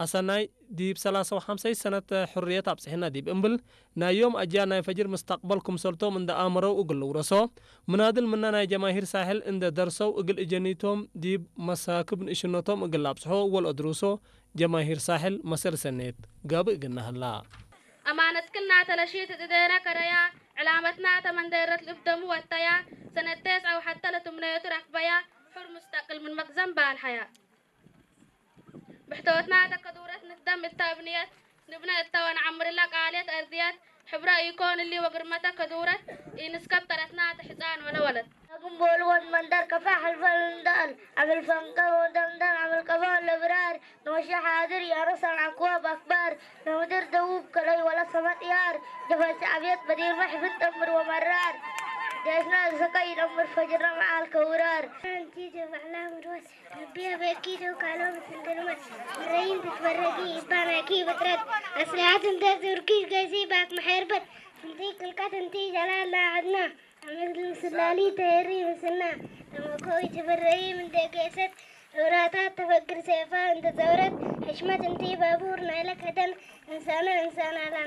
ኣሰናይ ዲብ ሰላሳ ወሓምሳይ ሰነት ሕርየት ኣብጽሕና ዲብ እምብል ናይ ዮም ኣጃ ናይ ፈጅር ምስተቅበል ክምሰልቶም እንደ ኣምረው እግል ውረሶ ምናድል ምና ናይ ጀማሂር ሳሕል እንደ ደርሰው እግል እጀኒቶም ዲብ መሳክብ ንእሽነቶም እግል ኣብጽሖ ወልኦ ድሩሶ ጀማሂር ሳሕል መሰል ሰኔት ጋብእ ግናህላ። أمانتكن ناتلشيت تدينا كريا علامتنا تمندرت لبدمو والتيا سنتيس أو حتى لتمنيت ركبيا حر مستقل من مخزن بالحياة. ብሕተወትና ተከዱረት ንክደም እታ እብንየት ንብነ እታ ወንዓምርላ ቃልየት ኣርድያት ሕብራ ኢኮን እሊ ወግርመተ ከዱረት ኢንስከብ ተረትና ተሕፃን ወለወለት። ኣጉም ቦልወን መንደር ከፋ ሕልፈል እንዳል ዓምል ፈንቀ ወደምደም ዓምል ቀባ ለብራር ንወሻ ሓድር ያረሳን ኣክዋብ ኣክባር ንምድር ደቡብ ከለይ ወላ ሰመጥያር ጀፈች ኣብየት በዲር መሕፍን ጠምር ወመራር ደስና ዝሰቀይ ይነምር ፈጅርና መዓል ከውራር ኣንቲ ጀባዕላ ምድወስ ربي أبكي لو كانوا بسندرمت مرين تتفرجي إبانا كي بترد أسلحة تنتظر كي جايزي باك محيربت انتي كلكت انتي جلال لا عدنا عمل مسلالي تهري مسنا تمكوي تفرجي من دقيست وراتات تفكر سيفا انت زورت حشمة انتي بابور نايلك هدن إنسانة إنسانة لا